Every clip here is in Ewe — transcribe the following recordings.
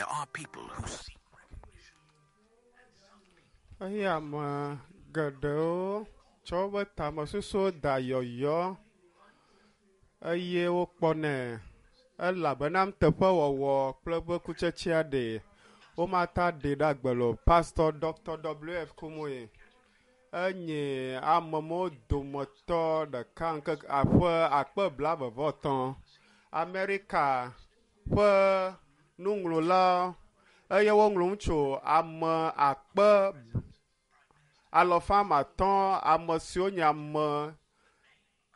There are people who seek recognition. Eye ame geɖewo tsɔ woƒe tamesusuwo da yɔyɔ eye wokpɔnɛ elabena nuteƒewɔwɔ kple eƒe kutsetsea ɖe womata ɖe ɖe agbe le o. Pastor Dr. W.F. Kumuyi enye amewo dometɔ ɖeka ŋkeke aƒe akpe blaeve-vɔ-etɔ̃ Amerika ƒe nuŋlɔla eye woŋlɔ nu tso ame akpe alɔfa ame atɔ̃ ame siwo nye ame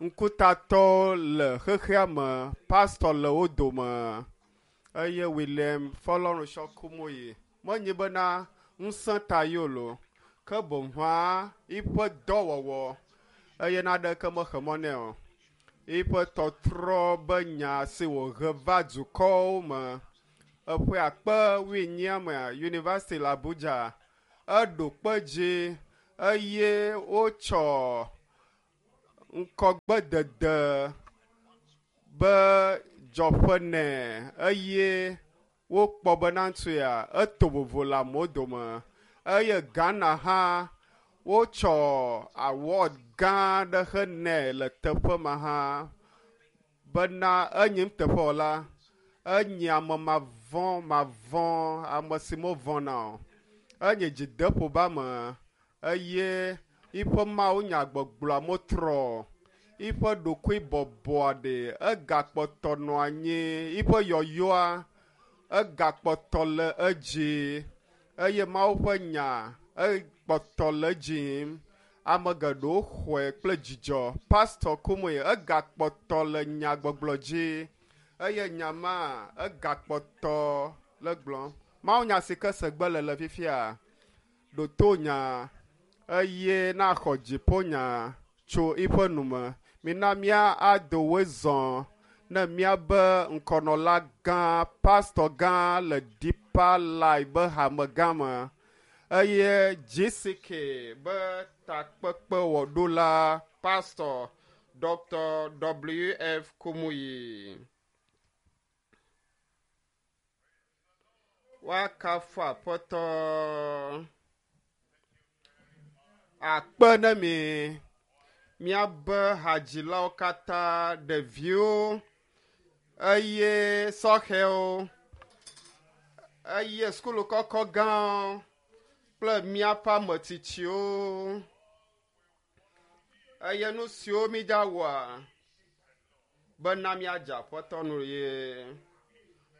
ŋkutatɔwo le xexea me pastor le wo dome eye William Fọlɔrunṣɔ Kumuyi menye bena ŋusẽ ta ye o lo ke boŋ hã eƒe dɔwɔwɔ eye naɖeke mexe mɔ nɛ o. Eƒe tɔtrɔ be nya si wòhe va dukɔwo me eƒe akpe wuienyia mea yunivɛsiti le Abuja eɖo kpe dzi eye wotsɔ ŋkɔgbedede be dzɔƒe nɛ eye wokpɔ bena ŋutsuya eto vovo le amewo dome eye Ghana hã wotsɔ award gã aɖe henɛ le teƒe ma hã bena enye nuteƒewɔla enye ame mavɔ̃ mavɔ̃ ame si mevɔ̃na o enye dzideƒo be ame eye eƒe mawunyagbɔgblɔa metrɔ o. Eƒe ɖokuibɔbɔa ɖe egakpɔtɔ nɔ anyi eƒe yɔyɔa egakpɔtɔ le edzi eye Mawu ƒe nya ekpɔtɔ le edzi yim. Ame geɖewo xɔe kple dzidzɔ. Pastor Kumuyi egakpɔtɔ le nyagbɔgblɔ dzi eye nya ma egakpɔtɔ le gblɔm. Mawunya si ke segbe le le fifia ɖo nya eye naxɔ dziƒonya tso eƒe nume. Mina mía ado woe zɔ ne míabe ŋkɔnɔla gã pastor gã le Deeper Life be hame gã me eye GCK be takpekpewɔɖola pastor Dr. W.F. Kumuyi. Woakafu Aƒetɔ. Akpe ne mi míabe hadzilawo katã, ɖeviwo eye sɔhɛwo eye sukulu kɔkɔ gãwo kple míaƒe ametsitsiwo eye nu siwo mídza wɔa bena míadze Aƒetɔ nu ye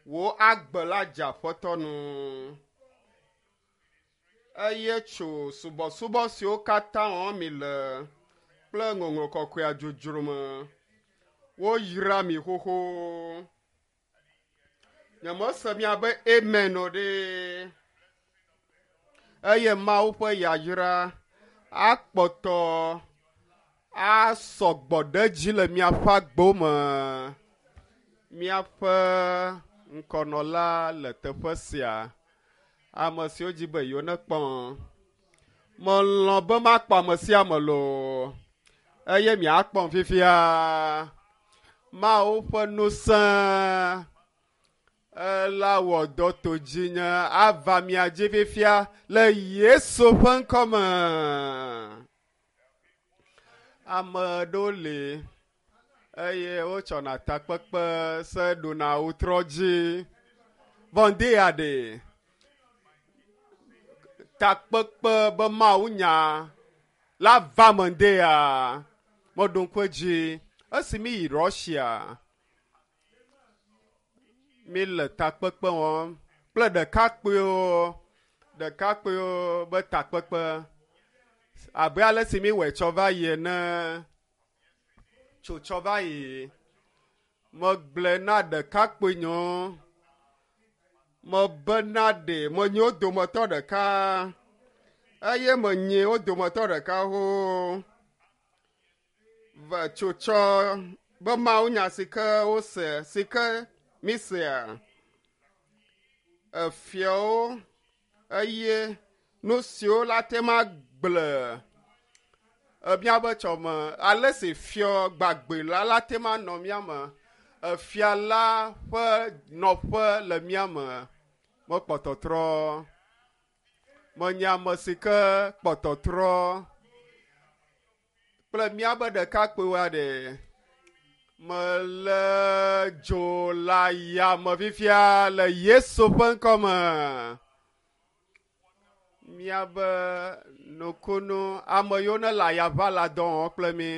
wò agbe la dze Aƒetɔ nu eye tso subɔsubɔ siwo katã wɔm mi le kple ŋɔŋlɔ kɔkɔea dzodzro me woyra mi xoxo. Nyemese miabe amen o ɖe. Eye Mawu ƒe yayra akpɔtɔ asɔgbɔ ɖe edzi le miaƒe agbewo me. Míaƒe ŋkɔnɔla le teƒe sia. Ame siwo dzi be yewo nekpɔ. Melɔ̃ be makpɔ ame sia ame loo eye miakpɔm fifia. Mawu ƒe ŋusẽ ela wɔ dɔ to dzinye ava mia dzi fifia le Yesu ƒe ŋkɔme. Ame aɖewo li eye wotsɔna takpekpe se ɖuna wotrɔ dzi. Vɔ ya ɖe takpekpe be mawunya la va me ŋde ya meɖo ŋku edzi esi mi yi Russia mi le takpekpe wɔm kple ɖekakpuiwo ɖekakpuiwo be takpekpe abe ale si mi wɔe tsɔ va yi ene tso tsɔ va yi megblɔe na ɖekakpui nyewo mebena ɖe menye wo dometɔ ɖeka eye menye wo dometɔ ɖeka ho ve tsotsɔ be mawunya si ke wose si ke mi sea efiawo eye nu siwo la te ma gblẽ míabe tsɔme ale si fiɔ gbagbe la la te ma nɔ mía me efia la ƒe nɔƒe le mía me. Mekpɔ tɔtrɔ. Menye ame si ke kpɔ tɔtrɔ kple míabe ɖekakpuiwoa ɖe. Mele dzo le yame fifia le Yesu ƒe ŋkɔ me. Míabe nukunu ame yiwo ne le ayaʋa le dɔ wɔm kple mi.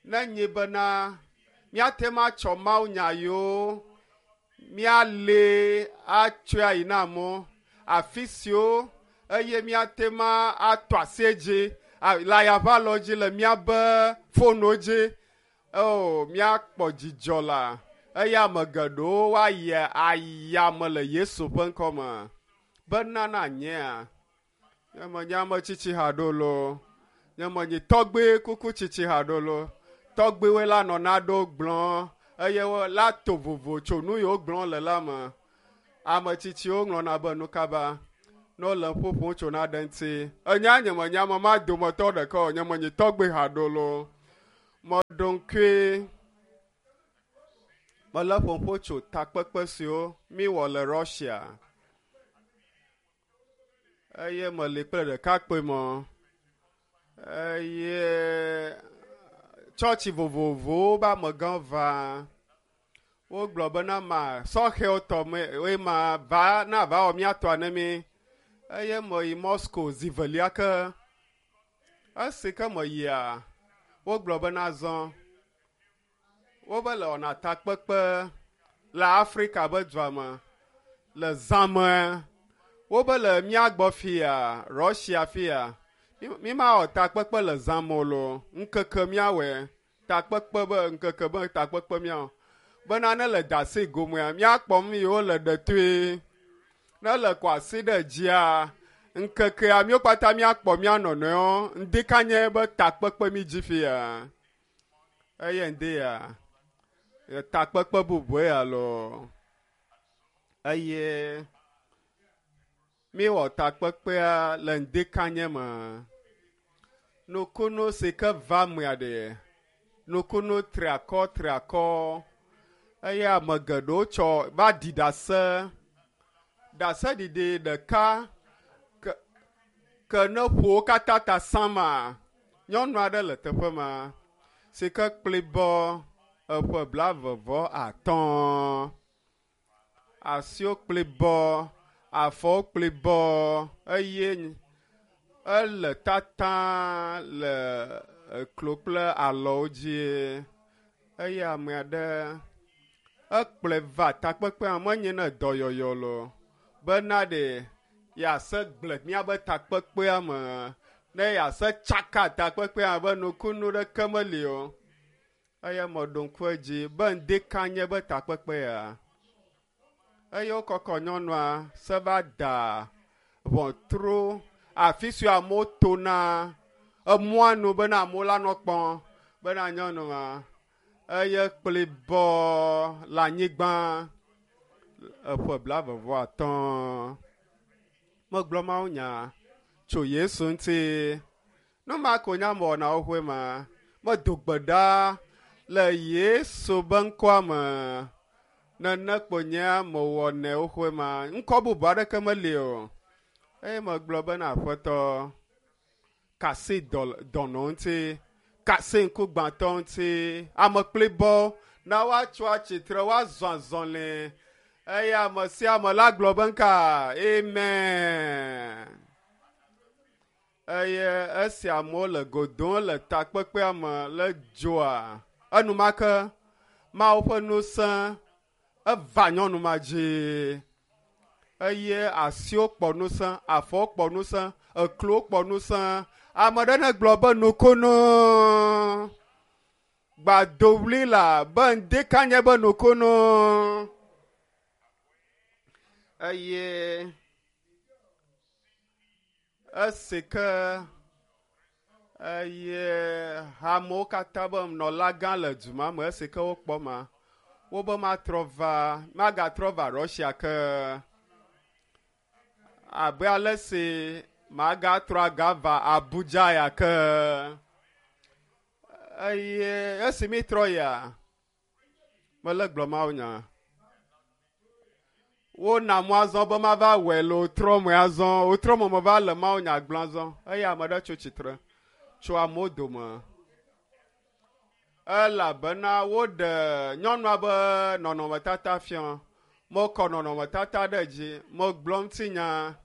Ne nyi bena míate ŋu atsɔ mawunya yiwo míali atsɔe ayi na amewo afi siwo eye míate ŋu atɔ asi edzi le ayaʋalɔ dzi le míabe fonuwo dzi. O míakpɔ dzidzɔ la eye ame geɖewo woayi ayame le Yesu ƒe ŋkɔ me. Bena na nyea, nye menye ame tsitsi haɖo loo, nye menye tɔgbe kuku tsitsi haɖo loo. Tɔgbewoe la nɔ naɖewo gblɔm eye wo la to vovo tso nu yiwo gblɔm le la me. Ame tsitsiwo ŋlɔna be nu kaba ne wole nu ƒoƒom tso naɖe ŋuti. Enya nye menye ame ma dometɔ ɖeka o, nye menye tɔgbe haɖo loo. Meɖo ŋkui mele ƒoƒo tso takpekpe siwo míwɔ le Russia eye meli kple ɖekakpui mɔ eye tsɔtsi vovovowo be amegãwo va. Wogblɔ bena ma sɔhɛwo tɔ me eye ma va na va wɔ mía tɔa ne mí eye meyi Moscow zi velia ke. Esi ke meyia, wogblɔ bena azɔ wobe le wɔna takpekpe le Afrika be dua me le zã me. Wobe le mía gbɔ fia, Russia fia. Mi mawɔ takpekpe le zã me o loo. Ŋkeke míawɔe. Takpekpe be ŋkeke be takpekpe míawɔ. Bena ne le dasi gomea, míakpɔ nu yiwo le ɖetoe. Ne le kɔ asi ɖe dzia, ŋkekea míwo katã míakpɔ mía nɔnɔewo. Ŋdi kanye be takpekpe mi dzi fia. Eye ŋdi ya, takpekpe bubue alo eye míwɔ takpekpea le ŋdi kanye me. Nukunu si ke va mea ɖe, nukunu triakɔ triakɔ eye ame geɖewo tsɔ va ɖi ɖase. Ɖaseɖiɖi ɖeka ke ke ne ƒo wo katã ta sama, nyɔnu aɖe le teƒe ma si ke kplibɔ eƒe blaeve-vɔ-atɔ̃. Asiwo kplibɔ, afɔwo kplibɔ eye ele tata le eklo kple alɔwo dzi eye ame aɖe ekplɔe va takpekpea menye ne dɔyɔyɔ loo bena ɖe yease gble míabe takpekpea me ne yease tsaka takpekpea be nukunu ɖeke meli o. Eye meɖo ŋku edzi be ŋdi ka nye be takpekpea. Eye wokɔkɔ nyɔnua se va da ʋɔtru afi si amewo tona emɔa nu bena amewo la nɔ kpɔm bena nyɔnu ma eye kplibɔ le anyigba eƒe blaeve-vɔ-atɔ̃. Megblɔ mawunya tso Yesu ŋuti. Nu ma ko nye amewɔna xoxoe ma. Medo gbe ɖa le Yesu be ŋkɔa me. Nene kpo nye amewɔnɛ xoxoe ma. Ŋkɔ bubu aɖeke meli o. Eye megblɔ bena aƒetɔ kasi dɔnɔ ŋuti, kasi ŋkugbãtɔ ŋuti, ame kplibɔ na woatso atsitre woazɔ azɔli eye ame sia ame la gblɔ be ŋka amen. Eye esi amewo le go dom le takpekpea me le dzoa, enumake Mawu ƒe ŋusẽ eva nyɔnu ma dzi eye asiwo kpɔ ŋusẽ, afɔwo kpɔ ŋusẽ, eklowo kpɔ ŋusẽ. Ame ɖe ne gblɔ be nukunu gbadowli la be ŋdi ka nye be nukunu eye esi ke eye hamewo katã be nɔla gã le du ma me esi ke wokpɔ ma wobe matrɔ va magatrɔ va Russia ke abe ale si magatrɔ agava Abuja ya ke eye esi mi trɔ yia mele gblɔ mawunya. Wona mɔ azɔ be mava wɔe le wotrɔ me azɔ. Wotrɔ me meva le Mawu nya gblɔm azɔ eye ame ɖe tso tsitre tso amewo dome. Elabena woɖe nyɔnua be nɔnɔmetata fia. Mekɔ nɔnɔmetata ɖe dzi. Megblɔ ŋutinya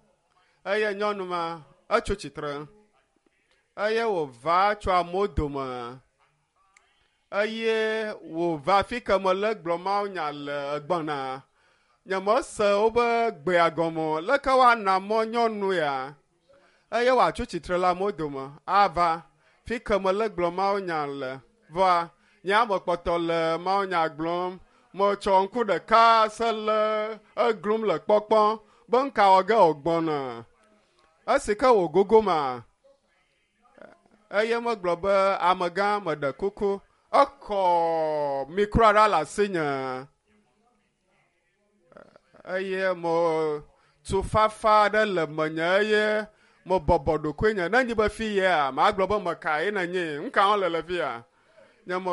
eye nyɔnu ma etso tsitre eye wòva tso amewo dome eye wòva fi ke mele gblɔ Mawu nya le egbɔna. Nyemese wobe gbea gɔme o. Leke woana mɔ nyɔnu ya eye wòatso tsitre le amewo dome ava fi ke mele gblɔ Mawu nya le. Vɔa nye ame kpɔtɔ le Mawu nya gblɔm. Metsɔ ŋku ɖeka se le eglum le kpɔkpɔm be ŋka wɔ ge wògbɔna. Esi ke wògogo ma, eye megblɔ be amegã meɖe kuku. Ekɔ mikroa ɖa le asinye eye mo tufafa aɖe le menye eye mebɔbɔ ɖokuinye. Ne nyi be fi yea, magblɔ be meka ye nenye. Ŋka hã le le fi ya. Nye me.